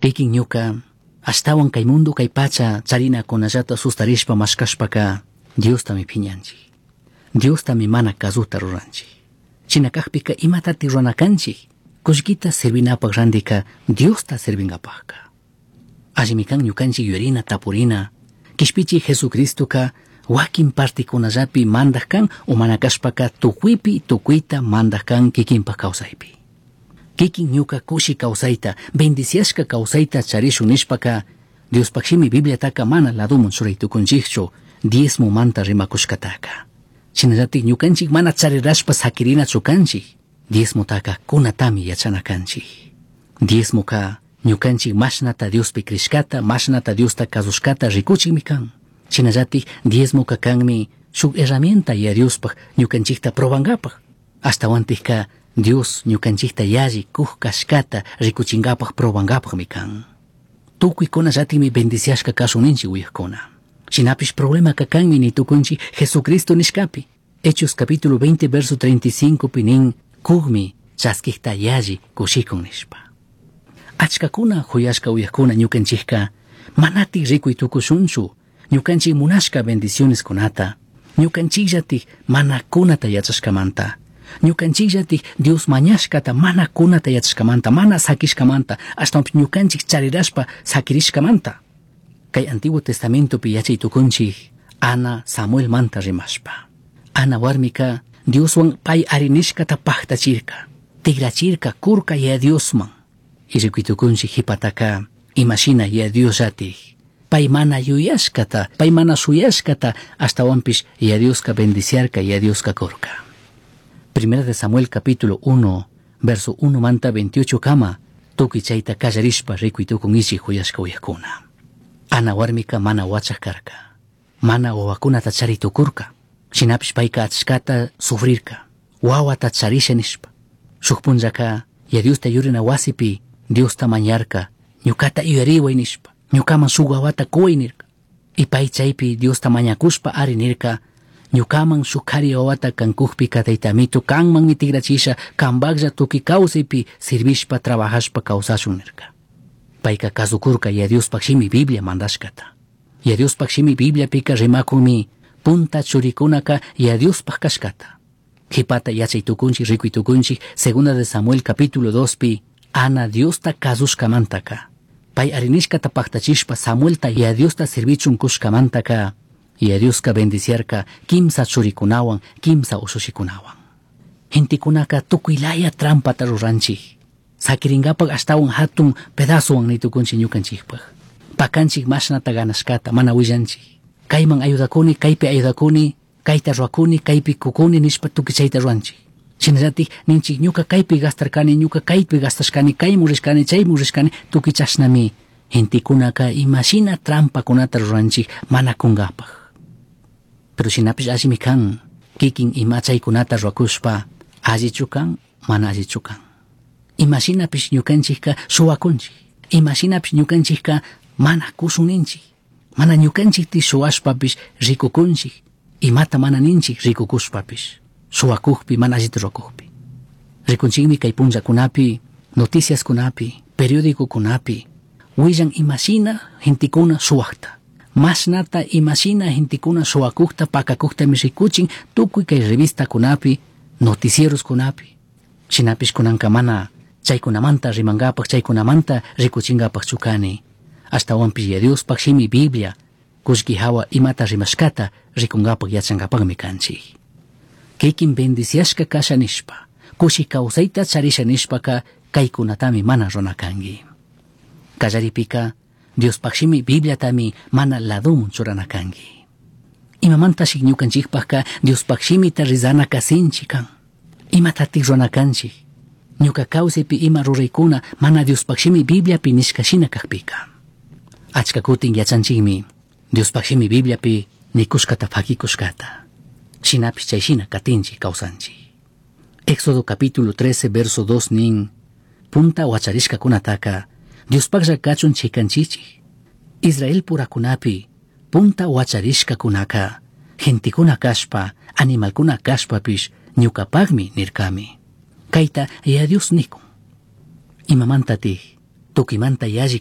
Kikin ñuka ashtawan kay mundo kay pacha charinakunallata sustarishpa mashkashpaka Diostami piñanchik. Diostami mana kasuta ruranchik. Shina kakpika imatati rurana kanchik? Kullkita servinapak randika Diosta servingapakka. Allimi kan ñukanchik yuyarina tapurina. Kishpichi Jesucristoka wakin partikunallapi mandak kan o mana kashpaka tukuypi tukuyta mandak kan kikinpak kawsaypi. Kikin ñuka kushi kawsayta, bendiciashka kawsayta charishun nishpaka Diospaj shimi Bibliataka mana laduman churay tukunchikchu diezmo manta rimakushkataka. Shinallatik ñukanchik mana charirashpa sakirinachu kanchik, diezmotaka kunatami yachana kanchik. Diezmoka ñukanchik mashnata Diospi crishkata, mashnata Diosta kasushkata rikuchikmi kan. Shinallatik diezmoka kanmi shuk herramienta ya Diospaj ñukanchikta probankapaj. Ashtawantikka Dios ñukanchikta yalli kuj kashkata rikuchinkapaj probankapajmi kan. Tukuykunallatikmi bendiciashka kashun ninchik uyakuna. Shinapish problemaka kanmi ni tukunchik Jesucristo nishkapi. Hechos capítulo 20 verso 35 pi nin kukmi chaskikta yalli kushikun nishpa. Achkakuna huyashka uyakuna ñukanchikka manatik rikuy tukushunchu ñukanchik munashka bendiciones kunata, ñukanchikllatik mana kunata yachashkamanta, ñukanchikllatik Dios mañashkata mana kunata yachashkamanta, mana sakishkamanta, ashtawanpish ñukanchik charirashpa sakirishkamanta. Kay Antiguo Testamentopi yachay tukunchik Ana Samuel manta rimashpa. Ana warmika Dioswan pay arinishkata paktachirka, tigrachirka kurka ya Diosman. Y rikuy tukunchik hipataka imashina ya Diosllatik pay mana yuyashkata, pay mana shuyashkata, ashtawanpish ya Dioska bendiciarka, ya Dioska kurka. Primera de Samuel capítulo 1, verso 1 manta 28 kama, tukuy chayta kallarishpa rikuy tukunkichik huyashka uyakuna. Ana warmika mana wachaj karka, mana wawakunata chari tukurka, shinapish payka achkata sufrirka, wawata charisha nishpa. Shuk punllaka ya Diosta yurina wasipi Diosta mañarka, ñukata yuyariway nishpa, ñukaman shuk wawata kuway nirka. Y pay chaypi Diosta mañakushpa ari nirka, ñukaman shuk kari wawata kankukpika taytamito kanmanmi tigrachisha kanpaklla tukuy kawsaypi servishpa trabajashpa kawsashun nirka. Payka kasukurka ya Diospaj shimi Biblia mandashkata. Ya Diospaj shimi Bibliapika rimakunmi punta churikunaka ya Diospaj kashkata. Qhipata yachay tukunchik rikuy tukunchik segunda de Samuel capítulo 2 pi Ana Diosta kasushkamantaka. Pay arinishkata paktachishpa Samuelta ya Diosta servichun kushkamantaka ya Dioska bendiciarka kimsa churikunawan kimsa ushushikunawan. Gentekunaka tukuylaya trampata ruranchik. Sakirinkapak ashtawan hatun pedazowan nitukunchik ñukanchikpaj. Pakanchik mashnata ganashkata mana willanchik. Kayman ayudakuni, kaypi ayudakuni, kayta ruwakuni, kaypi kukuni nishpa tukuy chayta ruwanchik. Shinallatik ninchik ñuka kaypi gastarkani, ñuka kaypi gastashkani, kaymun rishkani, chaymun rishkani, tukuy chashnami gentekunaka imashina trampakunata ruranchik mana kunkapaj. Pero shinapish allimi kan, kikin ima chaykunata ruwakushpa allichu kan, mana allichu kan. Imashinapish ñukanchikka shuwakunchik, imashinapish ñukanchikka mana kushun ninchik, mana ñukanchikti shuwashpapish rikukunchik, imata mana ninchik rikukushpapish, shuwakukpi mana allita ruwakukpi. Rikunchikmi kay punllakunapi, noticiaskunapi, periódicokunapi, willan imashina gentekuna shuwakta. Mashnata imashina gentekuna shuwakukta pakakuktami rikuchin tukuy kay revistakunapi, noticieroskunapi. Shinapish kunanka mana chaykunamanta rimankapak, chaykunamanta rikuchinkapak chukani. Ashtawanpish ya Diospaj shimi Biblia kullki hawa imata rimashkata rikunkapak yachankapakmi kanchik. Kikin bendiciashka kasha nishpa, kushi kawsayta charisha nishpaka kaykunatami mana runa kanki. Kallaripika Diospaj shimi Bibliatami mana ladumun churana kanki. Imamantashi ñukanchikpajka Diospaj shimita rizanaka sinchi kan. Imatatik runa kanchik. Ñuka kawsaypi ima ruraykuna mana Diospaj shimi Bibliapi nishka shina kakpika. Achka kutin yachanchikmi Diospaj shimi Bibliapi nikushkata fakikushkata. Shinapish chay shina katinchik kawsanchik. Éxodo capítulo 13 verso 2 nin punta wacharishkakunataka Diospajlla kachun chikanchichik. Israel purakunapi punta wacharishkakunaka gentekuna kashpa animalkuna kashpapish ñukapakmi nirkami. Kayta ya Dios nikun. Imamantatik tukimanta yalli